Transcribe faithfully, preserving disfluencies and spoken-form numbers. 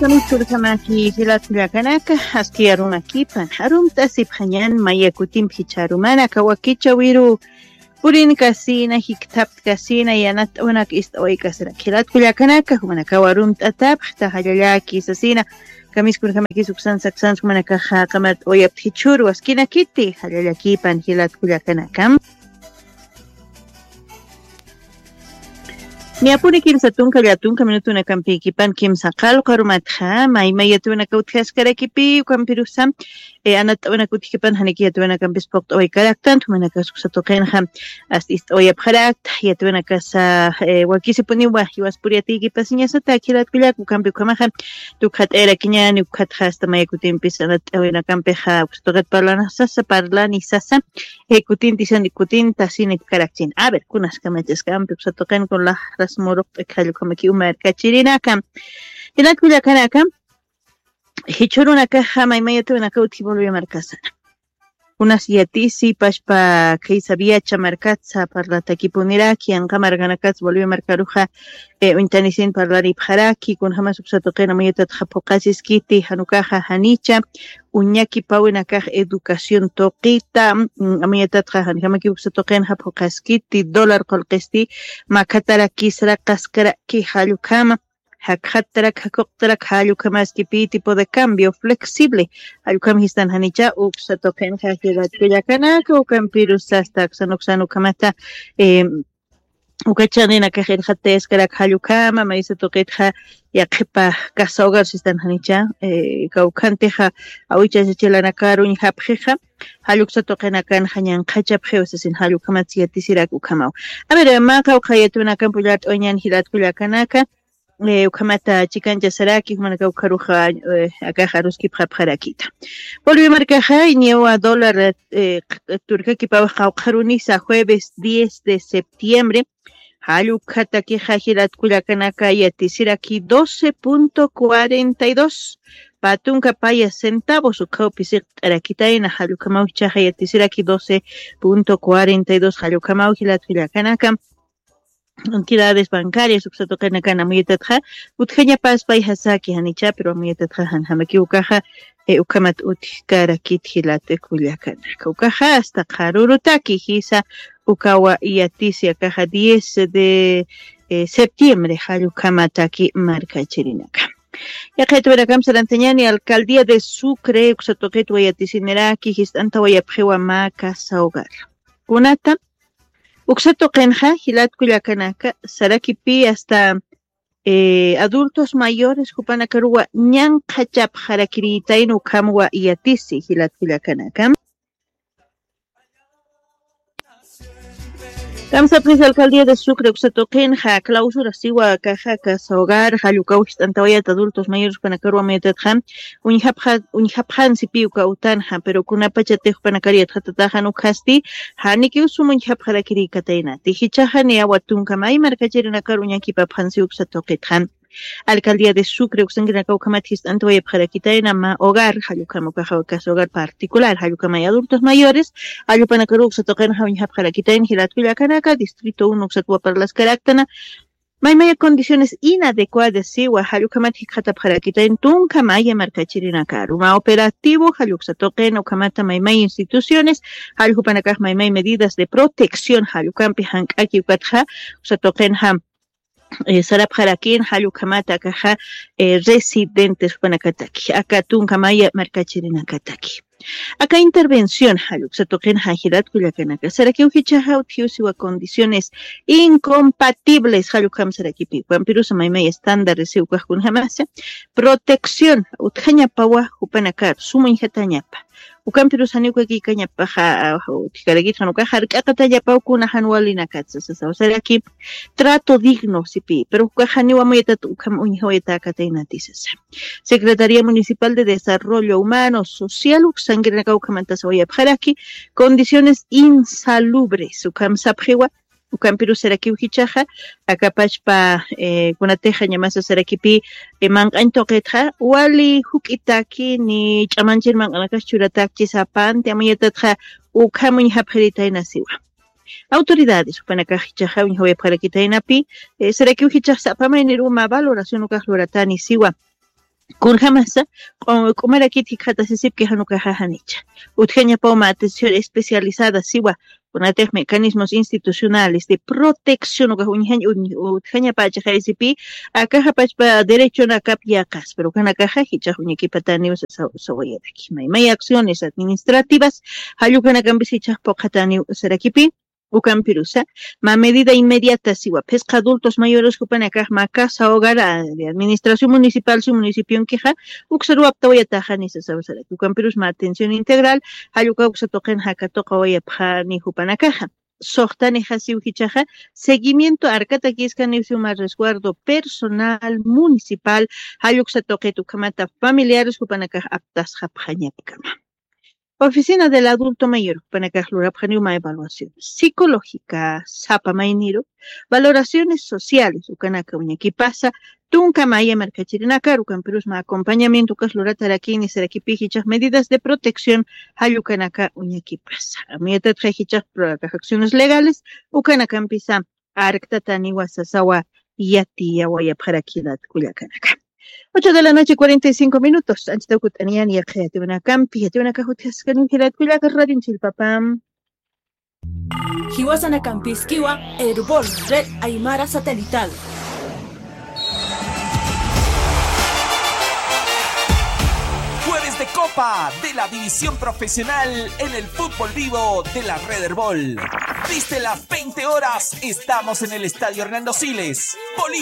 Kamichurkamaki jilat kullakanaka, aski arumakipan, arumt'asipxañan maya kutimpi jichha arumana, kawakicha wiru purinkasina, jikthaptkasina, yanat'awnak ist'awaykasina. Jilat kullakanaka, jumanakaw arumt'atapxta, jallallaki sasina, kamiskurkamakis uksan saksan, jumanakaxa qamat'awayapta jichhuru, askinakiti, jallallakipan jilat kullakanaka. Niyapuni kimsa tunka llatunka minutunakampïkipan kimsa qalqarumatxa, maymay yatwanaka utjaskarakipï, ukampirusa, eh, anat'awanaka utjkipan, janiki yatwanakampis puqt'awaykaraktan, jumanakax uksa tuqinxa, hasta ist'awayapxarakta, yatwanakasa, eh, wakisipuniwa, jiwas puriyatïkipasiñasata, jilat kullaka, ukampi ukhamaxa, tukxat'ayarakiñäni, ukhatxa, hasta maya kutimpis anat'awanakampixa, uksa tuqit parlana sasa, parlani sasa, eh, kutinti sani kutinta sinipkarakchin. A ver, kunas kamachaskampi uksa tuqin kun laqras muruqt'ak jallukamakiw markachirinaka. Jilat kullakanaka, jichhürunakaxa maymayatwanaka utji Bolivia markasana. Kunas yatisi, pachpa Kaysabiacha markatsa parlatakipuniraki, yanqa markanakatsa Bolivia markaruxa, eh, uñtanisin parlaripxaraki, kunjamas uksa tuqin amuyatatxa phuqasiskiti, jan ukaxa janicha, uñakipawinakax educación tuqita, mm, amuyatatxa janjamakiw uksa tuqinxa phuqaskiti, dólar qullqisti, makatarakisraqaskaraki jall ukhama, jakxatarak, jakuqtarak jall ukhamaski pi tipo de cambio flexible, jall ukham jistan janicha, uksa tuqinxa jilat kullakanaka, ukampirus sasta aksan uksan ukhamata, eh, uka chaninakax irxatayaskarak jall ukhama, maysa tuqitxa yaqhipa casa hogar sistan janicha, eh, kawkhantixa awichasa chilanakar uñjapxixa, jall uksa tuqinakanxa ñanqhachapxiw sasin jall ukhamatsa yatisirak ukhamaw. A ver, mä qawqha yatwanakampi ullart'awañän jilat kullakanaka, eh, ukhamata chikanchasaraki, jumanakaw ukharuxa, eh, akax aruskipxapxarakita. Bolivia markaxa, niwa dólar, eh, q-, turkakipaw qawqharunisa jueves diez de septiembre, jall ukhatakixa jilat kullakanaka yatisiraki doce punto cuarenta y dos, pä tunka paya centavos, ukhaw pisiqt'arakitayna, jall ukhamaw jichhaxa yatisiraki doce punto cuarenta y dos, jall ukhamaw jilat kullakanaka. Entidades bancarias uksa tuqinakan amuyatatxa, utjañapas pay jasaki janicha, pero amuyatatxa janjamakiw ukaxa, eh, ukhamat utjkarakit jilat kullakanaka. Ukaxa hasta qharürutaki jisa ukawa yatisi akaxa diez de, eh, septiembre, jall ukhamataki markachirinaka. Yaqha yatwanakamp sarantañäni, alcaldía de Sucre uksa tuqitwa yatisiniraki, jist'antawayapxiwa mä casa hogar. Kunata, uksa tuqinxa, jilat kullakanaka, sarakipï hasta, eh, adultos mayores jupanakaruwa ñanqhachapxarakirïtayna ukhamwa yatisi, jilat kullakanaka. Kamsapnis alcaldía de Sucre uksa tuqinxa clausura siwa akaxa casa hogar, jall ukaw jist'antawayat adultos mayores jupanakaruwa amuyatatxa, uñjapxa-, uñjapxansipï uka utanxa, pero kunapachatix jupanakar yatxatataxa jan ukhasti, janikiw sum uñjapxarakirïkataynati. Jichhaxa niyawa tunka may markachirinakar uñakipapxansi uksa tuqitxa. Alcaldía de Sucre uksankirinaka ukhamat jist'antawayapxarakitayna mä hogar, jall ukham ukaxa casa hogar particular, jall ukhamay adultos mayores, jall jupanakaruw uksa tuqinxa uñjapxarakitayna jilat kullakanaka, distrito uno uksatwa parlaskaraktana, maymaya condiciones inadecuadas siwa, jall ukhamat jikxatapxarakitayna tunka maya markachirinakaru. Mä operativo, jall uksa tuqin ukhamata maymay instituciones, jall jupanakax maymay medidas de protección, jall ukampi jank'aki ukatxa, uksa tuqinxa, eh, sarapxarakïn, jall ukhamata akaxa, eh, residentes jupanakataki, aka tunka maya markachirinakataki. Aka intervención, jall uksa tuqinxa jilat kullakanaka, sarakiw jichhaxa utjiw siwa condiciones incompatibles, jall ukham sarakipï, ukhampirusa maymay estándares siw ukax kunjamasa, protección, utjañapawa jupanakar, sum uñjatañapa. Ukampirus janiw ukakïkañapaxa, ah, utjkarakit jan ukax jark'aqatañapaw kuna jan walinakatsa sasaw saraki, trato digno sipï, pero ukax janiw amuyatat ukham uñjawayatäkataynati sasa. Secretaría Municipal de Desarrollo Humano Social uksankirinakaw ukhamantasawayapxaraki, condiciones insalubres ukham sapxiwa, ukampirus sarakiw jichhaxa, aka pachpa, eh, kunatixa ñamasa sarakipï, eh, manq'añ tuqitxa, wali juk'itaki, ni ch'amanchir manq'anakas churatakchi sapanti, amuyatatxa ukham uñjapxiritayna siwa. Autoridades jupanakax jichhaxa uñjawayapxarakitaynapi, eh, sarakiw jichhax sapa mayniruw mä valoración ukax luratani siwa. Kunjamasa, q'umarakit jikxatasisipki janukaxa janicha. Utjañapaw mä atención especializada siwa, kunatix mecanismos institucionales de protección ukax uñjañ utjañapächixaysipi, akaxa pachpa derechonakap yaqas, pero kanakaxa jichax uñakipataniw sawayaraki. Maymay acciones administrativas jallukanakampi jichax puqataniw sarakipi. Ukampirusa, mä medida inmediata siwa phisqa adultos mayores jupanakax mä casa hogar de administración municipal si municipionkixa uksaruwaptawayataxani sasawasaraki. Ukampirus mä atención integral jalluka uksa tuqin jakatuqawayapxani jupanakaxa. Suxtanixasiw jichaxa seguimiento arkatakïskaniw siw mä resguardo personal municipal jalluksa tuqit ukhamata familiares jupanakax aptasxapxañapkama. Oficina del adulto mayor jupanakax lurapxaniw mä evaluaciones psicológica sapa mayniru, valoraciones sociales ukanaka uñakipasa tunka maya markachirinakar ukampirus mä acompañamiento ukas luratarakini sarakipi jichax medidas de protección jallukanaka uñakipasa. Amuyatatkay jichax acciones legales ukanakampisa arktataniwa sasawa yatiyawayapxarakïnat kullakanaka. Ocho de la noche cuarenta y cinco minutos anchita ukut'aniyani yaqha yatiwinakampi yatiwinakax utjaskaniw jilat kullaka radionchillpapam. Jiwasanakampis kiwa Erbol Red Aymara Satelital. Jueves de Copa de la División Profesional en el fútbol vivo de la Red Erbol. Desde las veinte horas estamos en el Estadio Hernando Siles, Bolivia.